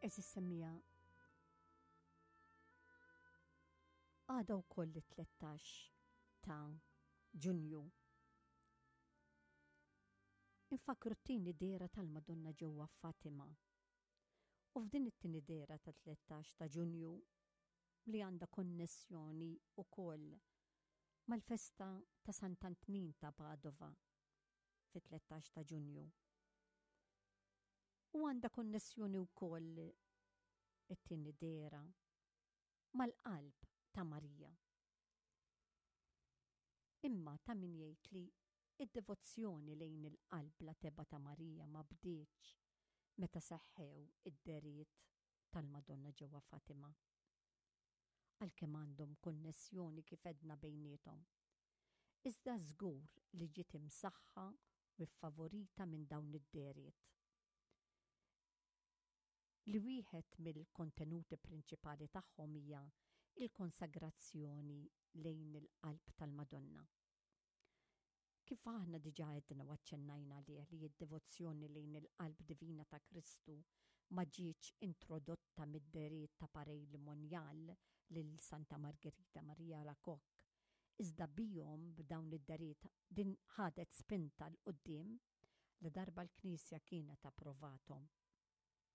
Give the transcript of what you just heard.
Eżis semmija għada wkoll it-13 ta' Ġunju. Infakru t-tieni dehra tal-Madonna ġewwa Fatima. U f'din it-tieni dehra ta' 13 ta' Ġunju li għandha konnessjoni wkoll mal-festa ta' Sant'Antnin ta' Padova fit-13 ta' Ġunju. U għandha konnessjoni wkoll it-tieni dehra mal-qalb ta' Marija. Imma ta' min jgħid li d-devozzjoni lejn il-Qalb Bla Tebgħa ta' Marija ma bdietx meta seħħew id-dehriet tal-Madonna ġewwa Fatima. Għalkemm għandhom konnessjoni kif għedna bejniethom. Iżda żgur li ġiet imsaħħa u ffavorita minn dawn id-dehriet. Li wieħed mill-kontenuti prinċipali tagħhom hija l-konsagrazzjoni lejn il-Qalb tal-Madonna. Kif aħna diġà għedna u aċċennajna għalih li d-devozzjoni lejn il-Qalb Divina ta' Kristu ma ġietx introdotta mid-dehriet ta' Pareil Monial lil Santa Margherita Maria Alacoque, iżda bihom b'dawn id-dehriet din ħadet spinta 'l quddiem ladarba l-Knisja kienet approvathom.